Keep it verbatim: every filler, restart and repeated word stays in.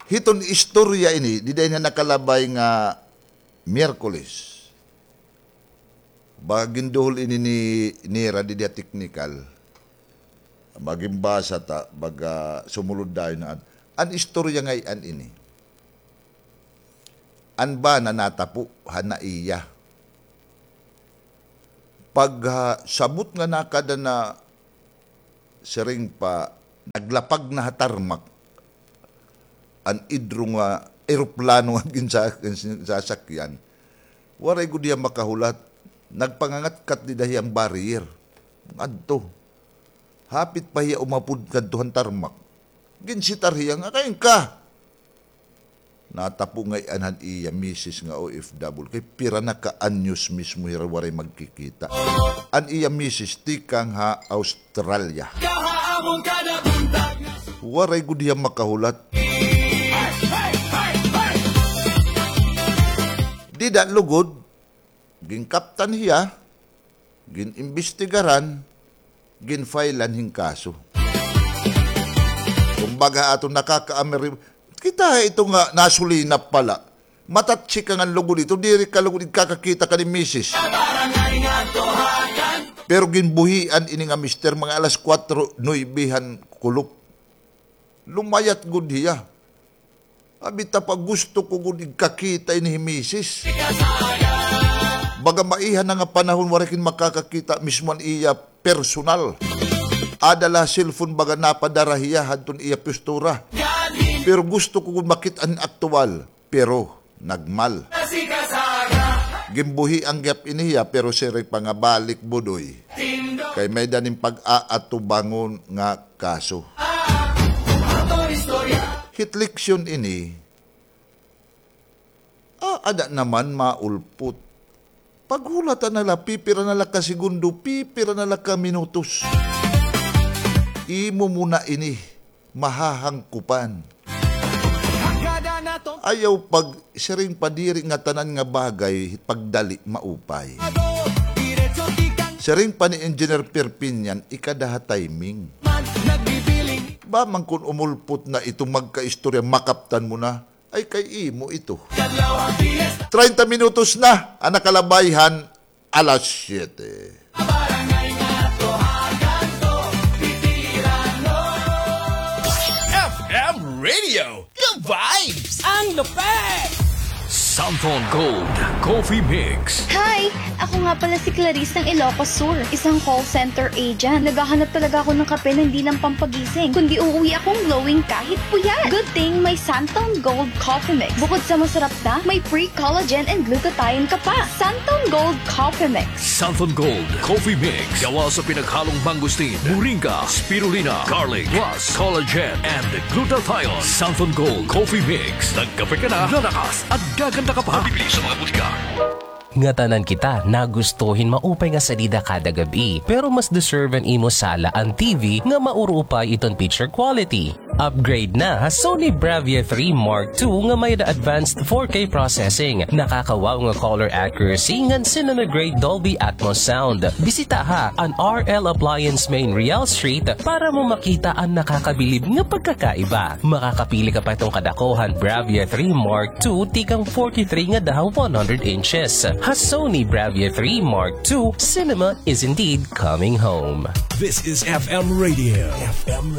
Hiton istorya ini, dida ini nakalabay nga Miyerkules. Baga ginduhol ini ni, nira didi ha teknikal. Baga ginbasa ta, baga sumulod dayon na an, an istorya ngay-an ini. An bana natapo han naiya. Pag, ah, sabot nga nakada na siring pa, naglapag na ha tarmac an idro nga eroplano nga ginsa-, ginsasakyan. Waray gud hiya makahulat. Nagpangangatkat dida hiya han barrier. Ngadto. Hapit pa hiya umapod ngadto han tarmac. Ginsitar hiya nga, "Kain ka?" Natapo ngay-an han iya misis nga O F W. Kay pira na ka anyos mismo hira waray magkikita. An iya misis tikang ha Australia. Waray gud hiya makahulat. Dida lugod, ginkaptan hiya, gin-imbestigaran, gin-filean hin kaso. Kumbaga, aton nakakaamiri-, kita ito nga nasulinap pala. Matatsik ka ngan lugod ito, diri ka lugod igkakakita kan misis. Pero ginbuhian ini nga mister mga alas kuwatro, nuebe han kulop. Lumayat gud hiya. Abi ta pa, gusto ko gud igkakita ini hi misis. Baga maiha na nga panahon waray kin makakakita mismo an iya personal. Ada la cellphone baga napadara hiya hadton iya postura. Pero gusto ko gud makit-an aktuwal. Pero nagmal. Ginbuhian gihap ini hiya, pero siring pa nga balik, Budoy. Kay may-ada nim pag-aatubangon nga kaso. Hit leksyon ini, ah, ada naman maulpot. Paghulata na la, pipira na la ka segundo, pipira na la ka minutos. Imo mo na ini mahahangkupan. Ayaw pag-, siring pa diri nga tanan nga bagay, pagdali, maupay. Siring pa ni Engineer Perpinian, ikada ha timing. Ba man kun umulpot na ito magkaistorya, makaptan mo na, ay kay imo ito. Treinta minutos na an nakalabay han alas siyete. F M Radio, the vibes! Ang lupet! Santon Gold Coffee Mix. Hi! Ako nga pala si Clarice ng Ilocos Sur, isang call center agent. Naghahanap talaga ako ng kape na hindi lang pampagising, kundi uuwi akong glowing kahit puyat. Good thing may Santon Gold Coffee Mix. Bukod sa masarap na, may pre-collagen and glutathione ka pa. Santon Gold Coffee Mix. Santon Gold Coffee Mix. Gawa sa pinaghalong mangosteen, moringa, spirulina, garlic, plus collagen and glutathione. Santon Gold Coffee Mix. Nagkape ka na, lalakas at gaganda ka pa. Mabibili sa mga butika. Ngatanan kita nagusto hin maupay nga salida kada gab-i, pero mas deserve an imo sala an T V nga maurupay iton picture quality. Upgrade na ha Sony Bravia three Mark two nga may-ada advanced four K processing, nakaka-wow nga color accuracy ngan cinema-grade Dolby Atmos sound. Bisitaha an R L Appliance Main Real Street para mo makita an nakakabilib nga pagkakaiba. Makakapili ka pa hiton kadakuhan Bravia three Mark two tikang forty-three ngada ha one hundred inches. Ha Sony Bravia three Mark two, cinema is indeed coming home. This is F M Radio. F M